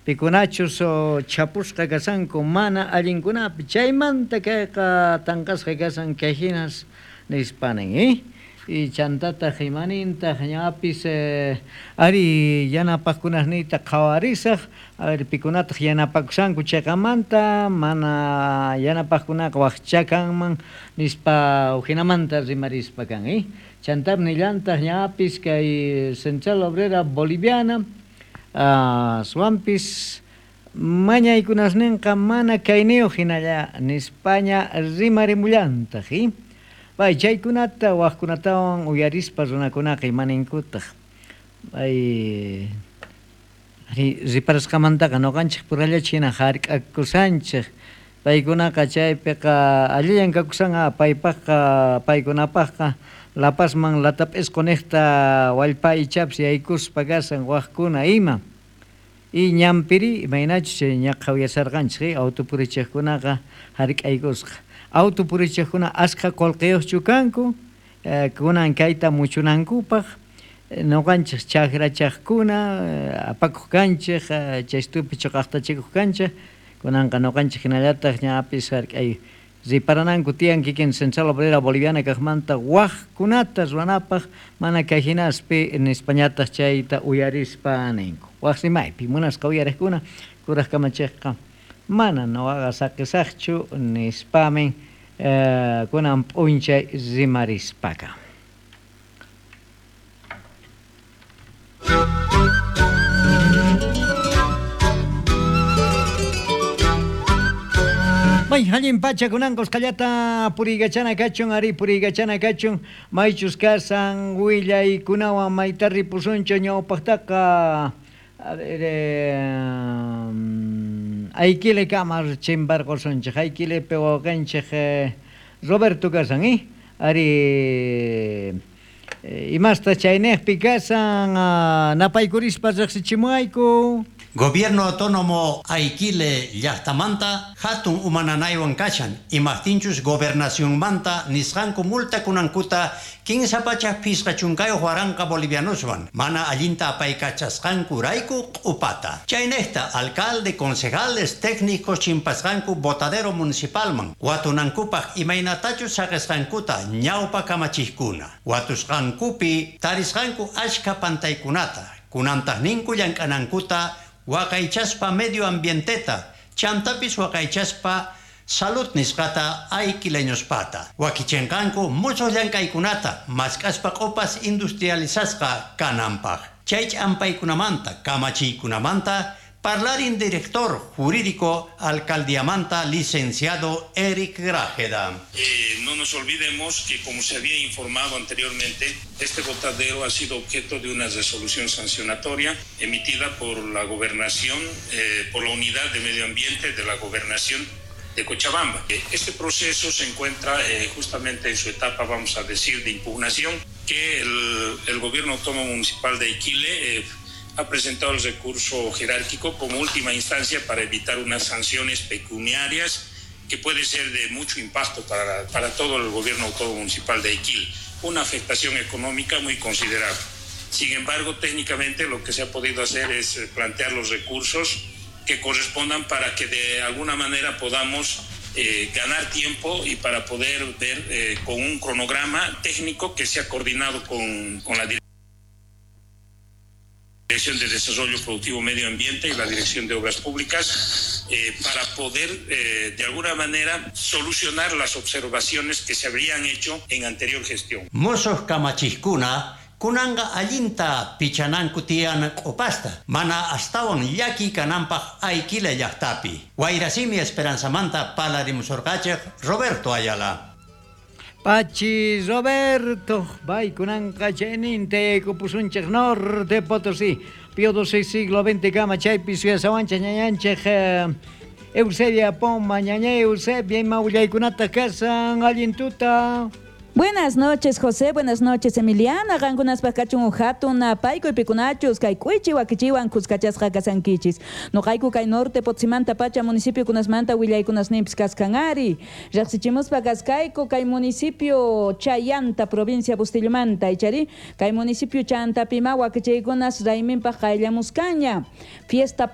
Pikunachus chhapusqa kashanku mana allinkunapi chaymanta kayqa tanqasqa kashan kay hinas nispa nin y chantataq imanintaq ñapis ari yanapaqkunasniyta qhawarisaq a ver pikunataq yanapakushanku chayqamanta mana yanapaqkunaqa waqcha kanman nispa ujinamanta rimarispa kan chantap nillantaq ñapis kay Central Obrera Boliviana aswanpis mañaykunasninqa mana kayniyuq hinalla nispaña rimarimullantaq pay chaykunata waqkunatawan uyarispa runakunaqa imaninkutaq pay riparasqamantaqa ñuqanchik purallachu hina hark'akusanchik paykunaqa chaypiqa allillan kakusan paypaqqa paykunapaqqa La Pazman latap'isqu niqta wallpa ichapis yaykuspa kasan waqkuna ima y ñanpiri imaynachus chay ñaqha uyasarqanchik autopurichiqkunaqa hark'aykusqa autopurichiqkuna askha qullqiyuqchu kanku kunan kayta muchunankupaq ñuqanchik chakrachaqkuna apakuq kanchik chaystupi chuqaqtachikuq kanchik kunanqa ñuqanchik hinallataq ñapis hark'ay riparananku tiyan kikin Central Obrera Boliviana kaqmanta waqkunata ruwanapaq mana kay hinaspi nispañataq chayta uyarispa ninku waq rimaypi munasqa uyariqkuna kuraq kamachiqqa mana nuqaqa saqisaqchu nispamin kunan p'unchay rimarispaka. May allin pacha kunanqa usqhallata puriykachana kachun ari puriykachana kachun maychus kasan willaykunawan mayta ripusunchu ñawpaqtaqa a ver Aiquile kama chimparqusunchik Aiquilepi wawqinchik Roberto kasan ari imasta chayniqpi kasan napaykurispa riqsichimuwayku. Gobierno Autónomo Aiquile llaqtamanta hatun umananaywan kashan imaqtinchus gobernacionmanta nisqanku multa kunankuta 350 waranqa bolivianoswan mana allinta apaykachasqanku rayku q'upata. Chaynejta alcalde, concejales, técnicos chimpasqanku botadero municipalman watunankupaq imaynatachus saqisqankuta ñawpa kamachiqkuna watusqankupi tarisqanku achka pantaykunata kunantaq ninku llank'anankuta waqaychaspa medio ambienteta chantapis waqaychaspa salud nisqata aiquileñospata wakichinqanku musuq llank'aykunata mask'aspa q'upas industrializasqa kananpaq chay ch'ampaykunamanta kamachiykunamanta parlarin director jurídico alcaldiamanta licenciado Eric Grajeda. No nos olvidemos que, como se había informado anteriormente, este botadero ha sido objeto de una resolución sancionatoria emitida por la gobernación, por la unidad de medio ambiente de la gobernación de Cochabamba. Este proceso se encuentra justamente en su etapa, vamos a decir, de impugnación, que el gobierno autónomo municipal de Aiquile ha presentado el recurso jerárquico como última instancia para evitar unas sanciones pecuniarias que puede ser de mucho impacto para todo el gobierno autónomo municipal de Aiquile, una afectación económica muy considerable. Sin embargo, técnicamente lo que se ha podido hacer es plantear los recursos que correspondan para que de alguna manera podamos ganar tiempo y para poder ver con un cronograma técnico que se ha coordinado con la Dirección de Desarrollo Productivo Medio Ambiente y la Dirección de Obras Públicas para poder de alguna manera solucionar las observaciones que se habrían hecho en anterior gestión. Mosoj kamachiqkuna kunanqa allinta pichananku tiyan q'upasta mana astawan llaki kananpaq Aiquile llaqtapi. Wayrasimi Esperanzamanta palarimusurqachik Roberto Ayala. Pachi Roberto, bay kunanqa chayninta yaykupusunchik Norte Potosí, Pío XII siglo XX kama chaypi suyasawanchik ñañanchik Eusebia Poma, ñaña Eusebia ima willaykunata kasan allin tuta. Buenas noches, José. Buenas noches, Emiliana. Qankunaspaq kachun hatun napaykuy pikunachus kay k'uychi wakichiwan kuskachasqa kasankichis. Noqayku kay Norte Potsimanta pacha municipio kunasmanta willaykunasninpis kaskan ari. Riqsichimuspa kaskayku kay municipio Chayanta provincia Bustillamanta ichari kay municipio Chantapima wakichiykunas rayminpaq qayllamuskanña. Fiesta